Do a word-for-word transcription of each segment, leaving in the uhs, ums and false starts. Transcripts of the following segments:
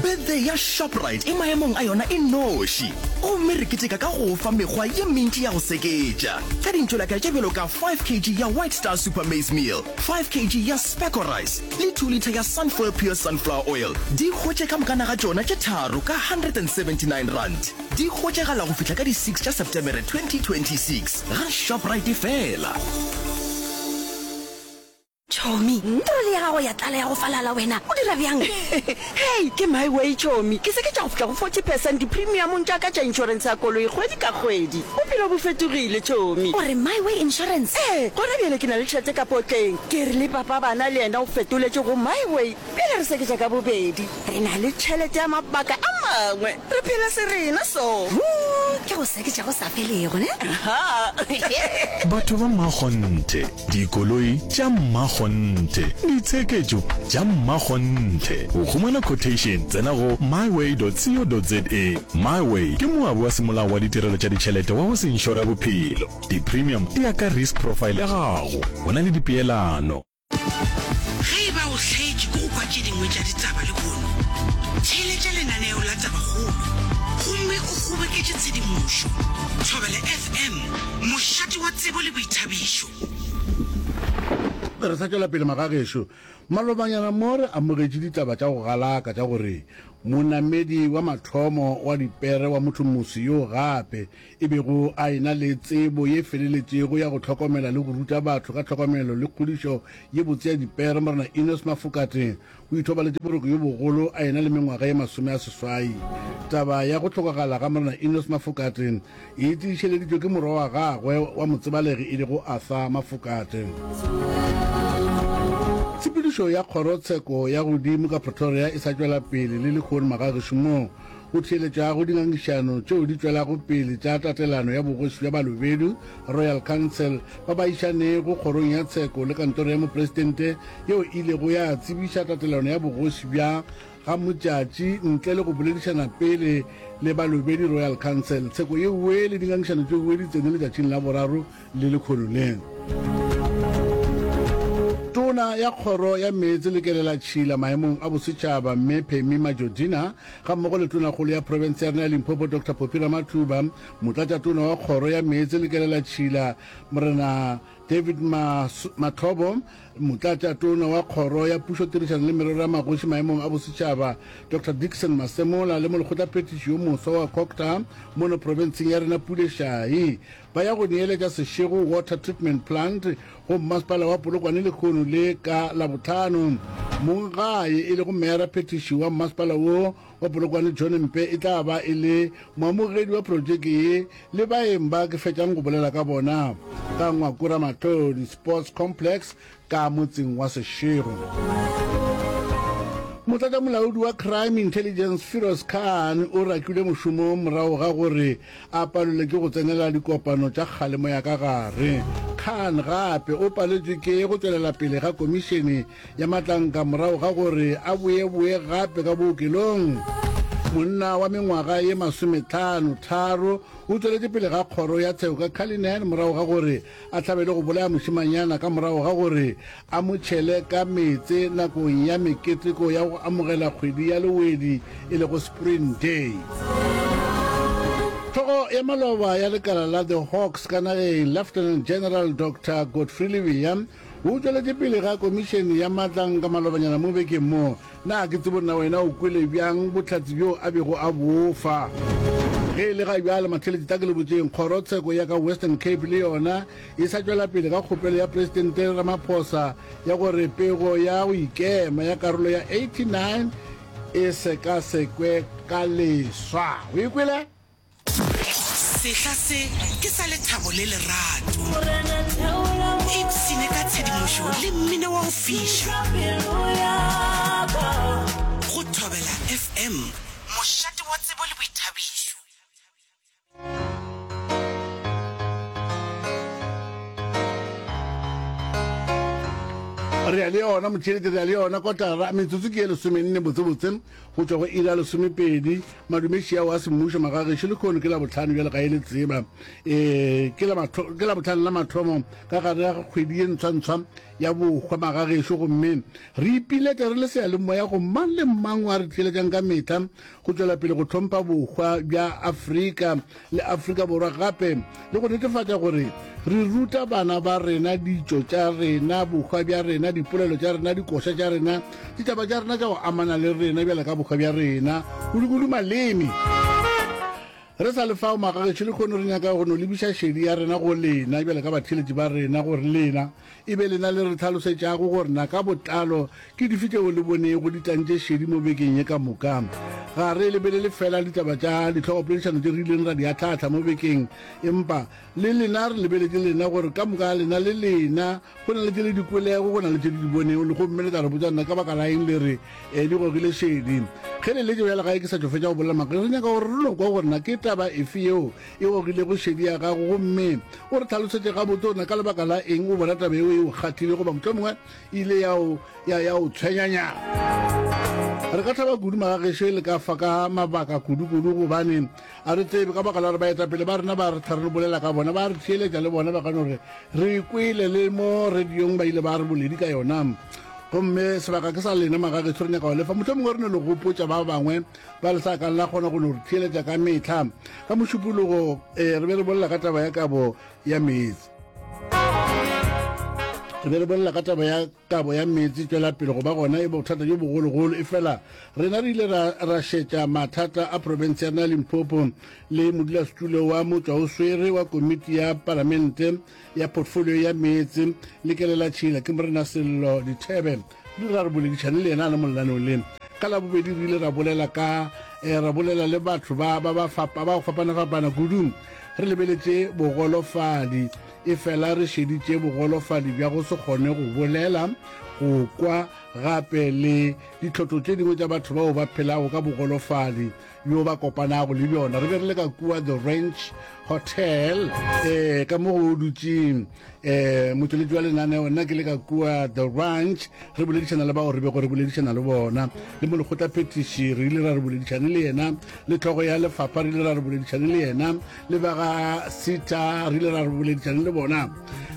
Birthday ya Shoprite e maemong a yona e noši, gomme re keteka ka go fa mekgwa ye mentši ya go seketša ka dintšolaka tše bjalo ka five kg ya White Star Super Maize Meal, five kg ya Specco Rice le two litre ya Sunfoil Pure Sunflower Oil. Di hwetše ka mokana ga tšona tše tharo ka hundred and seventy nine rand. Di hwetšagala go fihla ka di six tša Septemere twenty twenty six ga Shoprite fela. Chomi, troli ya gago ya tlala ya go falala wena, o dira bjang? Hei, ke my way Chomi. Ke se ke tša go fihla go forty percent di-premiumong tša ka tša inšorense ya koloi kgwedi ka kgwedi. Bophelo bo fetogile Chomi. O re My Way Insurance? Ee, gona bjale ke na le tšhelete ka potleng. Ke re le papa bana le yena o fetoletše go My Way. Bjale re seketša ka bobedi. Re na le tšhelete ya mabaka a mangwe. Re phela se rena so. Huu, ke go seketša go sa felego, ne? Aha. Batho ba mmakgonthe, dikoloi tša mmakgonthe, ditsheketšo tša mmakgonthe. Go humana quotation, tsena go myway dot co dot za. MyWay ke moabi wa semolao wa ditirelo tša ditšhelete wa go se inšore bophelo. Di-premium di ya ka risk profile ya gago. Go na le dipeelano. Ge e ba o hlaetše ke go kwa tše dingwe tša ditaba lehono, theeletša lenaneo la Tabakgolo gomme o kgoboketše tshedimošo. Thobela F M, mošate wa tsebo le boithabišo. Re sa tšwela pele magagešo. Malobanyana mo re amogetše ditaba tša go galaka tša gore monamedi wa mathomo wa dipere wa mothomoso yo gape e bego a ena le tsebo ye feleletšego ya go hlokomela le go ruta batho ka tlhokomelo le kgodišo ye botse ya dipere, Morena Enos Mafokate o ithobaletše boroko yo bogolo a ena le mengwaga ye masome a seswai. Taba ya go hlokagala ga Morena Enos Mafokate e tiišeleditšwe ke morwa wa gagwe wa motsebalegi e lego Arthur Mafokate. Tshepedišo ya kgorotsheko ya godimo ka Pretoria e sa tšwela pele le lehono magagešo moo go theeletšwago dingangišano tšeo di tšwelago pele tša tatelano ya bogoši bja Balobedu, Royal Council, ba ba išanego kgorong ya tsheko le kantoro ya mopresidente yeo e ilego ya tsebiša tatelano ya bogoši bja ga Modjadji ntle le go boledišana pele le Balobedu Royal Council. Tsheko yeo le dingangišano tšeo di tsene letšatšing la boraro le lekhono le. Tona ya Kgoro ya Meetse le Kelelatšhila maemong a bosetšhaba Mme Pemmy Majodina gammogo le Tonakgolo ya profense ya rena ya Limpopo Doctor Phophi Ramathuba, Motlatšatona wa Kgoro ya Meetse le Kelelatšhila Morena David Mahlobo, Motlatšatona wa Kgoro ya Pušotirišano le Merero ya Magoši maemong a bosetšhaba Doctor Dickson Masemola le molekgotlaphethiši yo moswa wa Cogta mono profenseng ya rena Pule Shayi ba ya go neeletša Seshego Water Treatment Plant go mmasepala wa Polokwane lehono le ka Labohlano. Monggae e lego meyaraphethiši wa mmasepala wo wa Polokwane John Mpe e tla ba e le moamogedi wa projeke ye le baeng ba ke fetšang go bolela ka bona ka Ngwako Ramatlhodi Sports Complex ka motseng wa Seshego. Motlatšamolaodi wa Crime Intelligence Firoz Khan o rakilwe mošomong morago ga gore a palelwe ke go tsenela dikopano tša kgalemo ya ka gare. Khan gape o paletšwe ke go tšwelela pele ga komišene ya matlanka morago ga gore a boeboe gape ka bookelong. Monna wa mengwaga ye masometlhano tharo o tšweletše pele ga kgoro ya tsheko ka Cullinan morago ga gore a hlabele go bolaya mošemanyana ka morago ga gore a mo tšhele ka meetse nakong ya meketeko ya go amogela kgwedi ya Lewedi e lego Spring Day. Hlogo ya maloba ya lekala la The Hawks ka nageng, Lieutenant General Doctor Godfrey Lebeya, o tšweletše pele ga komišene ya matlanka malobanyana mo bekeng mo. Na ke tsebo nna wena o kwele bjang bohlatse bjo a bego a bo fa? Ge e le ga bjale matheletši tla ke le botšeng, kgorotsheko ya ka Western Cape le yona e sa tšwela pele ka kgopelo ya Presidente Ramaphosa ya gore pego ya go ikema ya karolo ya eighty-nine e sekasekwe ka leswa. O e kwele? Sehla se ke sa lethabo le lerato. Ipshine ka tshedimošo le mmino wa go fiša. Go Thobela F M, mošate wa tsebo le boithabišo. Re ya le yona motšhelete, re ya le yona kotara, metsotso ke ye lesomenne botsebotse go tšwa go iri ya lesomepedi. Madumeši ao a semmušo magagešo lehono ke Labohlano bjale ga e le tseba. E, ke la matho, ke Labohlano la mathomo ka gare ga kgwedi ye ntshwantshwa ya bohwa magagešo, gomme re ipiletša re le seyalemoya go mang le mang wa re theeletšang ka mehla go tšwela pele go hlompha bohwa bja Afrika le Afrika Borwa gape le go netefatša gore re ruta bana ba rena ditšo tša rena, bohwa bja rena, dipolelo tša rena, dikoša tša rena, ditaba tša rena tša go amana le rena bjale ka bohwa bja rena, kudu-kudu maleme. Re sa le fao magagešo lehono re nyaka go no lebiša šedi ya rena go lena bjale ka batheeletši ba rena gore lena e be lena le re hlalosetšago gore na ka botlalo ke dife tšeo le bonego di tlantše šedi mo bekeng ye ka moka. Ga re lebelele feela ditaba tša dihlogopoledišano tše re ileng ra di ahlaahla mo bekeng empa le lena re lebeletše lena gore ka moka ga lena le lena go na le tše le di kwelego, go na le tše le di bonego le gomme le tla re botša na ka baka la eng le re e di gogile šedi. Ge le letše bjale gae ke sa tšo fetša go bolela maaka, re nyaka gore re no kwa gore na ke taba efe yeo e gogilego šedi ya gago gomme o re hlalosetše gabotse gore na ka lebaka la eng o bona taba yeo e o kgahlile goba mohlomongwe e ile ya o, ya, ya o tshwenyanyana. Re ka thaba kudu magagešo e le ka fa ka mabaka kudu-kudu gobane a re tsebe ka baka la gore baetapele ba rena ba re tlha re bolela ka bona, ba re theeletša le bona ba ka no re re kwele le mo radiong ba ile ba re boledi ka yona. Gomme sebaka ke sa lena magagešo re nyaka go lefa mohlomongwe re no le gopotša ba bangwe ba le sa kang la kgona go no re theeletša ka mehla. Ka Mošupologo eh, re be re bolela ka taba ya kabo ya meetse. Re be re bolela ka taba ya kabo ya meetse tšwela pele go ba gona e bothata bjo bogologolo, efela rena re ile ra, ra šetša mathata a profense ya rena ya Limpopo le modulasetulo wa motšwaoswere wa komiti ya palamente ya portfolio ya meetse le kelelatšhila ke Morena Sello Dithebe. Re ile ra re boledišane le yena a le mo lenaneong le. Ka Labobedi re ile ra bolela ka eh, ra bolela le batho ba ba ba fapa ba go fapana-fapana kudu re lebeletše bogolofadi, efela re šeditše bogolofadi bja go se kgone go bolela, go kwa gape le ditlhotlo tše dingwe tša batho bao ba phelago ka bogolofadi bjo ba kopanago le bjona. Re be re le ka kua The Ranch Hotel eh, ka mo go dutše eh, motšweletši wa lenaneo, nna ke le ka kua The Ranch re boledišana le bao re bego re boledišana le bona, le molekgotlaphethiši re ile ra re boledišane le yena, le hlogo ya lefapha re ile ra re boledišane le yena, le ba ga SETA re ile ra re boledišane le bona.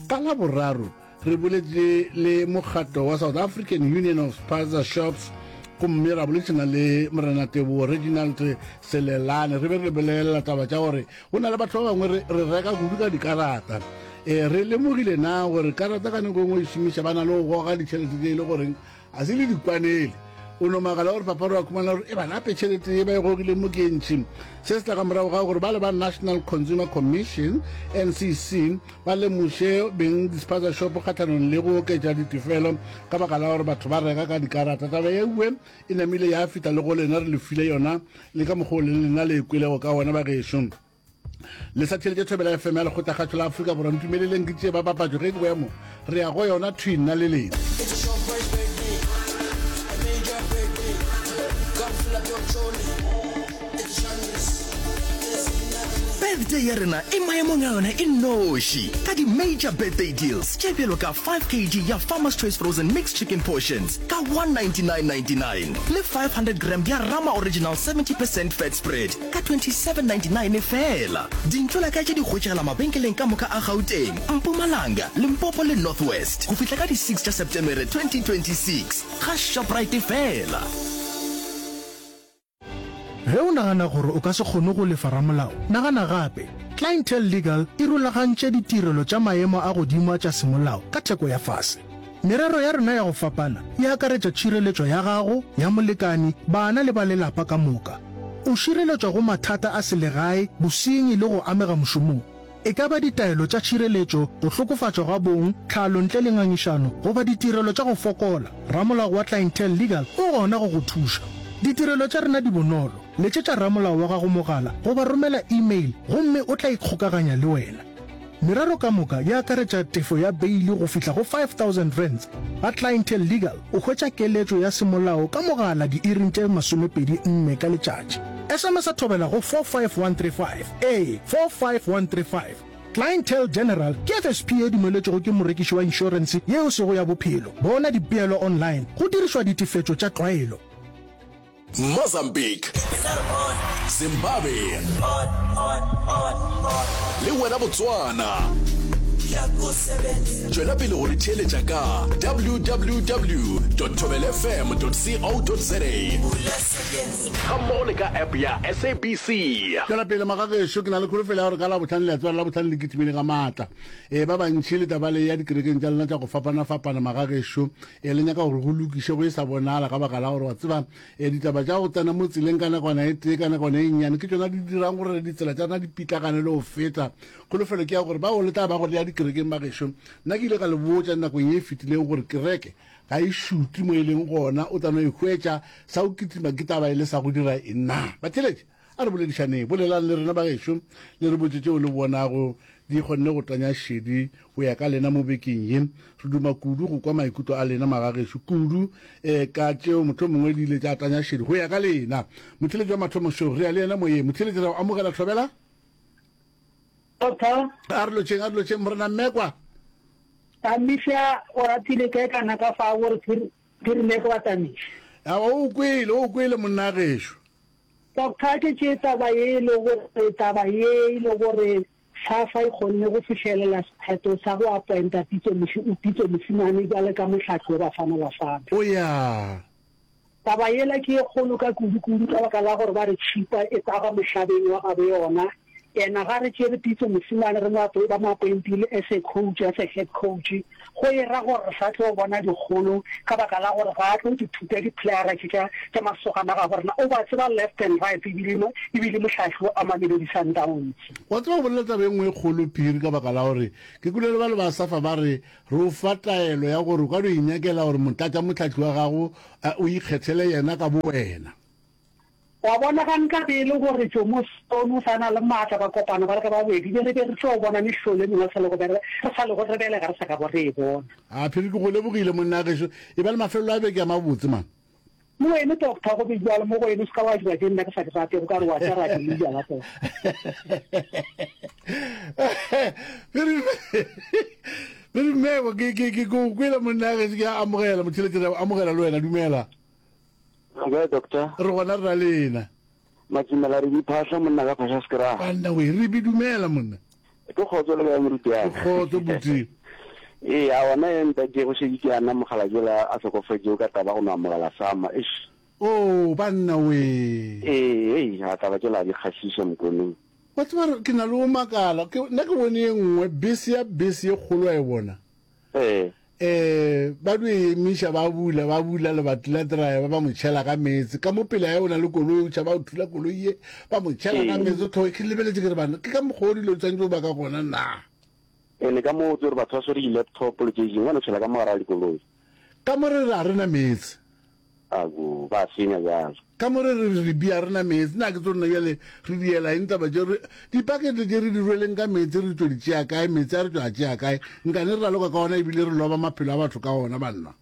Ka Laboraro re boletše le mokgatlo wa South African Union of Spaza Shops gomme ra boledišana le Morena Tebogo Reginald Selelane. Re be re lebelela taba tša gore go na le batho ba bangwe re, re reka kudu ka dikarata. E, re lemogile na gore karata ka nako e nngwe e šomiša ba na le go goga ditšhelete tše e le goreng a se le dikwanele. O no makala gore papa re wa khumana gore e ba nape tšhelete ye ba e gogileng mo ke e ntši. Se se tla ka morago ga gore ba le ba National Consumer Commission, N C C, ba lemoše beng di-spaza shop kgahlanong le go oketša ditefelo ka baka la gore batho ba reka ka dikarata. Taba yewe e namile ya fihla le go lena, re le file yona le ka mokgwa o leng lena le e kwelego ka gona bagešo. Le sa theeletše Thobela F M ya Lekgotlakgašo la Afrika Borwa. Ntumeleleng ke tšee ba papatšo ge ke boya mo. Re ya go yona thwi nna le lena. Birthday ya rena e maemong a yona e nnoši ka di-major birthday deals tše bjalo ka five kg ya Farmer's Choice Frozen Mixed Chicken Portions ka one ninety-nine ninety-nine le five hundred gram ya Rama Original seventy percent Fat Spread ka twenty-seven ninety-nine feela. Dintlo-la-kae tše di hwetšagala mabenkeleng ka moka a Gauteng, Mpumalanga, Limpopo le North West go fihla ka di six tša Septemere twenty twenty-six ga Shoprite feela. Ge o nagana gore o ka se kgone go lefa ramolao, nagana gape. Clientele Legal e rulagantše ditirelo tša maemo a godimo a tša semolao ka theko ya fase. Merero ya rena ya go fapana e akaretša tšhireletšo ya gago, ya molekani, bana le ba lelapa ka moka. O šireletšwa go mathata a selegae, bosenyi le go amega mošomong. E ka ba ditaelo tša tšhireletšo, go hlokofatšwa ga bong, tlhalo ntle le ngangišano, goba ditirelo tša go fokola, ramolao wa Clientele Legal o gona go go thuša. Ditirelo tša rena di bonolo. Letšetša ramolao wa gago mogala goba romela email gomme o tla ikgokaganya le wena. Merero ka moka e akaretša tefo ya beili go fihla go five thousand rands. Ga Clientele Legal o hwetša keletšo ya semolao ka mogala diiring tše masomepedi nne ka letšatši. S M S-a thobela go four five one three five, ee, four five one three five. Clientele General ke F S P ye dumeletšwego ke morekiši wa inšorense ye e sego ya bophelo. Bona dipeelo online go dirišwa ditefetšo tša tlwaelo. Mozambique, Zimbabwe le wena Botswana. Tšwela pele go re theeletša ka W W W dot thobelafm dot co dot za gammogo le ka app ya S A B C. Tšwela pele magagešo, ke na le kholofelo ya gore ka Labohlano le a tseba Labohlano le kitimile ka maatla. E ba bantši le taba le ya dikerekeng tša lena tša go fapana-fapana magagešo, e le nyaka gore go lokiše go e sa bonala ka baka la gore wa tseba e ditaba tša go tsena mo tseleng ka nakwana e tee ka nakwana e nnyane ke tšona di dirang gore ditsela tša rena di pitlagane le go feta. Kholofelo ke ya gore bao le tla ba gore ya dikerekeng bagešo, nna ke ile ka le botša nakong ye e fetileng gore kereke ga e šute mo e leng gona, o tla no e hwetša sa go kitima ke taba e le sa go dira eng na. Batheeletši, a re boledišaneng, bolelang le rena bagešo le re botše tšeo le bonago di kgonne go tanya šedi go ya ka lena mo bekeng ye. Re duma kudu go kwa maikutlo a lena magagešo kudu um ka tšeo mohlomongwe di ile tša tanya šedi go ya ka lena. Motheeletši wa mathomo šo re ya le yena moyeng. Motheeletši, re a go amogela Thobela. Doctor. A re lotšheng, a re lotšheng Morena Mmekwa. Tamiša o ratile kae kana ka fa gore Phiri Mmekwa wa tamiša. A o kwele, o kwele monna gešo. Doctor ke tše taba ye e le gore taba ye e le gore SAFA e kgonne go fihlelela sephetho sa go appointa Pitso Pitso Mosimane bjale ka mohlahli wa Bafana Bafana. O ya. Taba yela ke ye kgolo ka kudu-kudu ka baka la gore ba re tšhipa e taga mohlabeng wa gabo yona. Ena ga re tšere Pitso Mosimane re mo ba mo appointile as a coach, as a head coach, go e ra gore re sa tlo bona dikgolo ka baka la gore ga a tlo di thuta di-playera tše tša tša masogana a gabo rena. O ba tseba left and right ebile ebile mohlahli wa Mamelodi Sundowns. Wa tseba go bolela taba e nngwe e kgolo Phiri ka baka la gore ke kwele le ba le ba SAFA ba re re o fa taelo ya gore o ka no inyakela gore motlatša mohlahli wa gago o ikgethele yena ka bowena. Wa bona, ga nka be e le gore Jomo Stone o sa na le maatla, ba kopana ba le ka babedi, be re be re tlo bona mehlolo e mengwe re sa lego re sa lego re belega re sa kago re e bona. A Phiri, ke go lebogile monna gešo. E ba le mafelelo a beke a mabotse man. Le wene doctor go be bjalo mo go wene o se ka wa dira tše nna ke sa di ratego ka re wa tša ra di le bjala tota. Phiri Phiri Mmeko ke ke ke go kwele monna gešo ke a amogela motheletši re a amogela le wena dumela. Kae doctor? Re gona re na lena. Matšimela re di phahla monna ka phahla sekra. Banna we re bi dumela monna. Ke kgotso le kae moruti wa ka? Ke kgotso buti. Ee, a ona ye ntate go šetše ke ana mokgalabje la a hlokofetšego ka taba go no amogela sama. Eish. Oh, banna we. Ee, hei, a taba tšela di kgahliša Mokoneng. Wa tseba ke na le go makala, ke nna ke bone ye nngwe bese ya bese ye kgolo wa e bona. Ee. Eh, ba dio e emiša, ba bula, ba bula lebati la driver, ba mo tšhela ka meetse. Ka mo pele ya o na le koloi, o tšhaba o thula koloi ye, ba mo tšhela ka meetse. Tlhogo ke lebeletše ke re bana, ke ka mokgwa o dilo di tshwanetse go ba ka gona na? Ene ka mo o tsere batho ba swere di-laptop le tše dingwe, ba no tšhela ka mo gare ga dikoloi. Ka mo re re ga re na meetse. Ago, ba senya bjalo. Ka mo re re re bia re na meetse, na ke tso rena bjale re diela eng taba tše re dipakete tše re di rweleng ka meetse re tšo di tšea kae, meetse a re tšo a tšea kae, nkane re raloka ka ona ebile re loba maphelo a batho ka ona banna.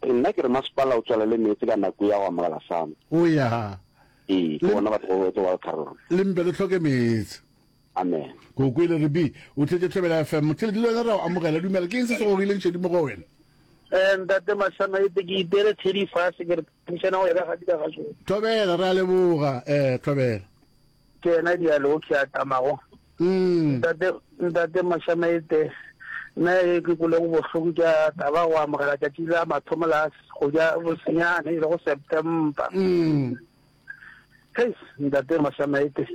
Nna ke re masepala o tswalele meetse ka nako ya go amogela sama. O ya. Ee, ke gona batho ba tlo ba tharollo. Le mpe le hloke meetse. Amen. Ke o kwele re bi o tletše Thobela F M. Motheletši le wena re a o amogela. Dumela, ke eng se se gogileng šedi mo go wena? Eh, ntate Mashama ete ke itere thedi fase ke re phemišana go ya ka gadi ka gašo. Thobela, re a leboga. Eh, Thobela. Ke yena dialo ke a tamago. Mm. Ntate ntate Mashama ete nna e ke kwelego bohloko ke a taba go amogela tšatši la mathomo la kgwedi ya bosenyane e lego September. Mm. Hei, ntate Mashama ete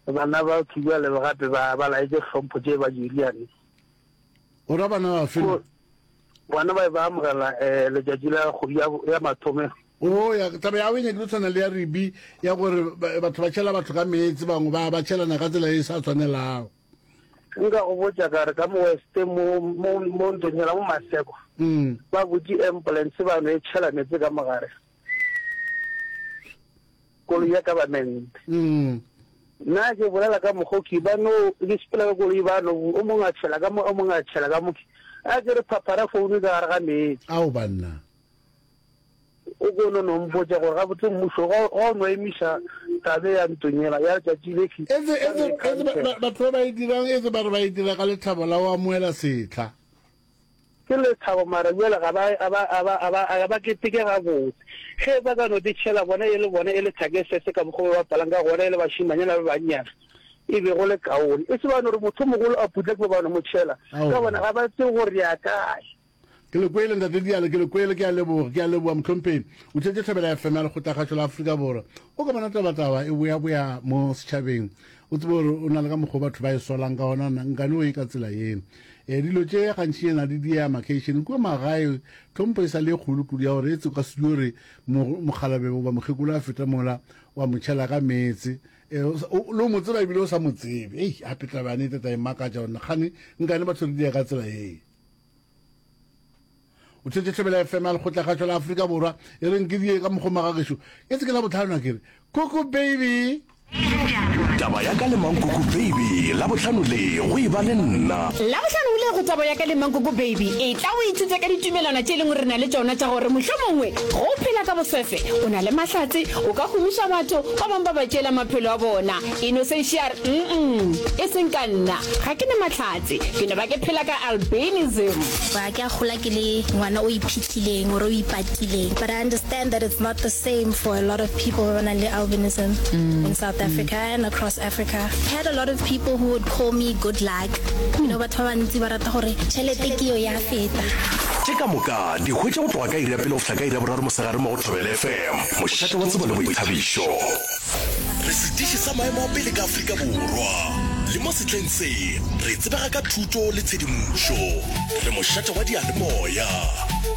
bana ba thubjale gape ba ba laetše hlompho tše ba Juliane. O ra bana bafe na? Bona ba be ba amogela um letšatši la kgwedi ya, ya mathomo. O ya, taba ya go e nyakile tshwana le ya Ribi ya gore batho ba tšhela batho ka meetse, bangwe ba ba tšhelana ka tsela e e sa tshwanelago. Nka go botša ka re ka mo West mo, mo, mo ntlong yela mo Maseko, Mm. ba butše ambulance ba no e tšhela meetse ka mogare. Koloi ya government. Mm. Nna ke bolela ka mokgo ke ba no ke sepela ka koloi ba no o mongwe a tšhela ka mo o mongwe a tšhela ka mo a ke re phaphara founu ka gare ga meetse. Ao banna. O O ko no no mpotša gore gabotse mmušo ga o no emiša tabe ya ntonyela ya letšatši le etse etse etse batho ba ba e dirang etse ba re ba e dira ka lethabo la go amoela sehla. Ke lethabo mara bjale ga ba ga ba ga ba ga ba ga ba keteke gabotse. Ge ba ka no di tšhela bona e le bona e le thakesese ka mokgwa ba bapalang ka gona e le bašemanyana ba bannyane e be go le kaone. E se ba no re motho mogolo a putla ke ba ba no mo tšhela ka gobane ga ba tsebe gore re ya kae. Ke le kwele, Ntate Diale, ke le kwele. Ke a leboga, ke a leboga, Mohlomphegi. O tšetše Thobela F M ya Lekgotlakgašo la Afrika Borwa. O ka bona tabataba e boyaboya mo setšhabeng, o tsebe gore o na le ka mokgwa batho ba e solang ka gona, nkane o ye ka tsela ye. E, dilo tše gantšinyana di diya makeišeneng kua magae, tlhompho e sa le e kgolo kudu ya gore e tse o ka se dio re mokgalabje goba mokgekolo a feta mola wa mo tšhela ka meetse. E, le o mo tseba ebile o sa mo tsebe. Ei, gape taba ya nnete tla e makatša gore kgane nkane batho re diya ka tsela ye. O tšhetše Thobela F M ya Lekgotlakgašo la Afrika Borwa e reng ke die ka mokgwa magagešo e se ke la bohlano a ke re Kuku baby. Taba ya ka le Mankuku baby Labohlano le go e ba le nna. Labohlano le go Taba ya ka le Mankuku baby e tla o ithute ka ditumelwana tše e leng gore re na le tšona tša gore mohlomongwe ge o phela ka boswefe o na le mahlatse o ka humiša batho ba bangwe ba ba tšeela maphelo a bona. Innocentia a re mm e seng ka nna ga ke na mahlatse ke no ba ke phela ka albinism. Ba ke a gola ke le ngwana o iphihlileng or o ipatileng but I understand that it's not the same for a lot of people ba ba nang le albinism in South Africa and across Africa. I had a lot of people who would call me good luck, you know batho ba bantsi ba rata gore tšhelete ke yo ya feta. Tše ka moka di hwetša go tloga ka iri ya pele go fihla ka iri ya boraro mosegare mo go Thobela F M, mošate wa tsebo le boithabišo. Re setiši sa maemo a pele ka Afrika Borwa, le mo sehleng se re tsebega ka thuto le tshedimošo. Re mošate wa diyalemoya.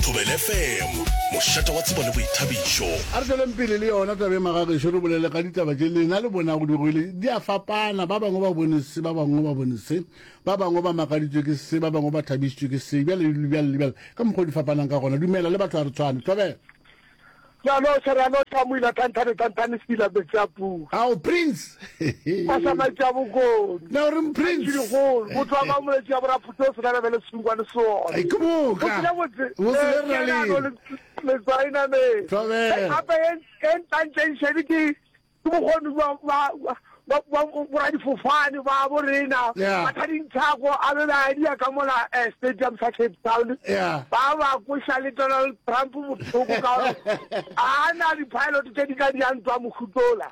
Thobela F M, mošate wa tsebo le boithabišo. A re tšweleng pele le yona taba ye magagešo, re bolele ka ditaba tše lena le bonago di rwele di a fapana. Ba bangwe ba bone se, ba bangwe ba bone se, ba bangwe ba makaditšwe ke se, ba bangwe ba thabišitšwe ke se, bjale le bjale le bjale, ka mokgwa o di fapanang ka gona. Dumela le batho ga re tshwane. Thobela. Re a lotšha, re a lotšha, Moila Thanthane, Thanthane Sepila Metsi a Pula. Ao, Prince! Mašamaitši a Bokone. Na o reng Prince? Tšhidigolo, motho wa Mamoletši a Boraphuti o sena lebele sengwane sona. Ai, ke boka. Botse le botse. Botse le re na le. Letswai nameng. Thobela. Gape e ntantšeng šedi ke ke bokgoni bja bja boradifofane ba bo rena Mathading Thako a be ba dia ka mola stadium sa Cape Town ba ba koša le Donald Trump bohloko ka gore a na di-pilot tše di ka diang ntwa mohutola.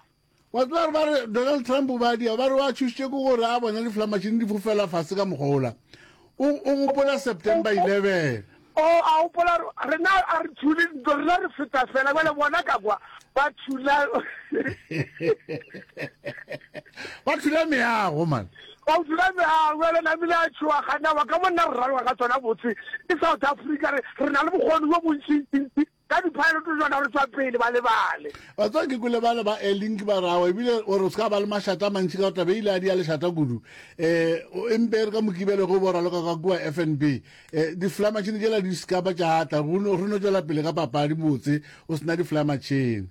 Wa tseba gore ba re Donald Trump ba dia ba re wa tšhošitše ke gore a bona diflamatšhini di fofela fase ka mokgwa ola. O o gopola September eleven. O a gopola rena a re thule ntlo, rena re feta fela bjale bona ka kwa ba thula ba thula meago man. Ba thula meago bjale namile a tšhoga gana ba ka monna re raloka ka tsona botse ke South Africa re re na le bokgoni bo bontšintšintši ka di-pilot tsona re tswa pele ba lebale. Wa tseba ke kwele bale ba Airlink ba rawa ebile gore o se ka ba le mašata a mantši ka gore taba e ile a di ya lešata kudu. Um empe re ka Mokibelo ge o bo raloka ka kua F N B um di-fly machine tšela di se ka ba tša tla, re no tšwela pele ka papadi botse o sena di-fly machine.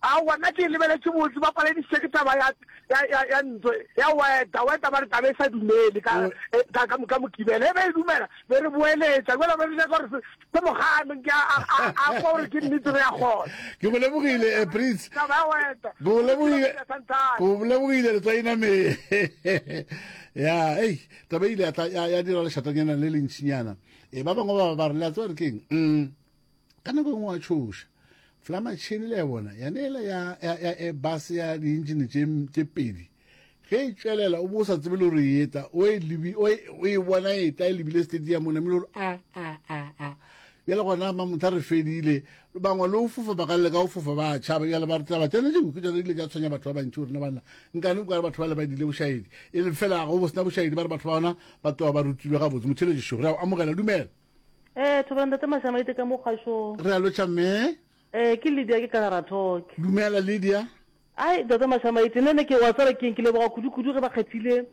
Aowa, nna ke e lebeletše botse, ba paledisitše ke taba ya, ya, ya, ya ntlo ya Weta. Weta ba re taba e sa dumele ka, ka, ka, ka Mokibelo. Ge be e dumela, be re boeletša. Jwale be re nyaka gore se, se mo gane, nke a, a, a, a kwa gore ke nnete re ya kgona. Ke go lebogile, eh, Prince. Taba ya Weta. Ke go lebogile. Ke go lebogile, Letswainame. Ya, ei, taba e ile ya tla, ya, ya dira lešatanyana le lentšinyana. E, ba bangwe ba ba re, le a tseba gore ke eng? Mm, ka nako e nngwe wa tšhoša. Flamatšhini le ya bona, ya neela ya, ya, ya Airbus ya dientšene tše, tše pedi. Ge e tšwelela, o bo o sa tsebe le gore e etla, o e lebi, o e, o e bona e etla, e lebile stadium, o namile gore a, a, a, a. Bjale gona mamotha re fedile, bangwe le o fofa ba ka leka go fofa ba tšhaba, bjale ba re taba tšona tšeo ke tšona di ile tša tshwenya batho ba bantši gore na banna nkane o ka re batho ba le ba dile bošaedi, e le fela go bo sena bošaedi, ba re batho ba bona ba tloga ba rutilwe gabotse. Motheeletši šo, re a o amogela, dumela. Eh, thobela ntate Mashamaite ka mo kgašong. Re a lotšha mme. Eh, ke Lydia ke ka Rathok. Dumela Lydia. Ai, ntate Mashamaite, nna ne ke wa tseba keng, ke leboga kudu-kudu ge ba kgethile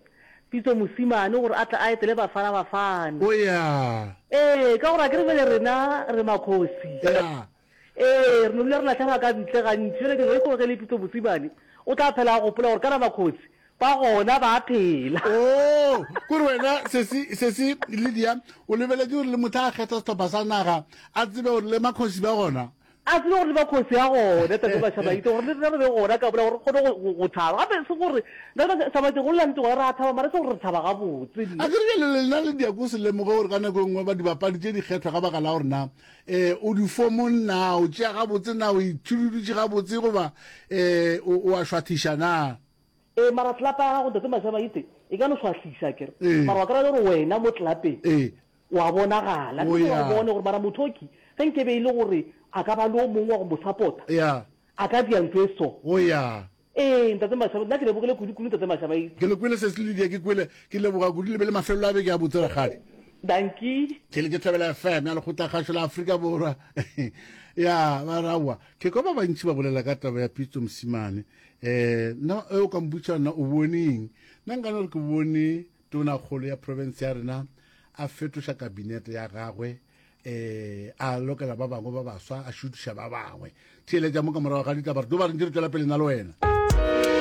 Pitso Mosimane gore a tle a etele Bafana Bafana. O ya. Ee, ka gore akere bjale rena re makgosi. Ya. Ee, re no dula re lahlega ka ntle gantši. Bjale ke re ge le Pitso Mosimane o tla phela a gopola gore kana makgosi ba gona ba phela. Oh, kore wena sesi, sesi Lydia, o lebeletše gore le motho a kgetha sehlopha sa naga a tsebe gore le makgosi ba gona. A tsebe gore le makgosi a gona, Tate Mašamaite, gore le rena re be gona ka mola gore re kgone go, go, go thaba. Gape e se gore, Tate Mašamaite, go lla nnete gona re a thaba, mara e se gore re thaba gabotse. A ke re bjale lena le diako se lemoge gore ka nako e nngwe ba dibapadi tše di kgethwa ka baka la gore na um o difomong na, o tšea gabotse na, o itšhududutše gabotse goba um o, o a šwathiša na. Ee, mara tlelapa ya gago, Ntate Mašamaite, e ka no šwahliša, akere? Ee. Mara wa kry-a le gore wena mo tlelapeng Ee. o a bonagala. O Ke gore ya. o bone gore mara motho oki, ge nke be e le gore a ka ba le o mongwe wa go mo support-a, Ya. a ka dia ntho e so. O ya. Ee, Ntate Mashaba, nna ke lebogile kudu-kudu, Ntate Mashaba. Ke le kwele Sesi Lydia, ke kwele. Ke leboga kudu, le be le mafelelo a beke a botse, rakgadi. Dankie. Ke le ke Thobela F M ya Lekgotlakgašo la Afrika Borwa. Ya, ba re aowa. Ke kwa ba bantši ba bolela ka taba ya Pitso Mosimane. Eh, nna e o ka mpotša nna o bone eng? Nna nka no re ke bone tonakgolo ya province ya rena a fetoša kabinete ya gagwe, eh, a lokela ba bangwe ba baswa, a šutiša ba bangwe. Theeletša mo ka morago ga ditaba, re tlo ba re ntše re tšwela pele nna le wena.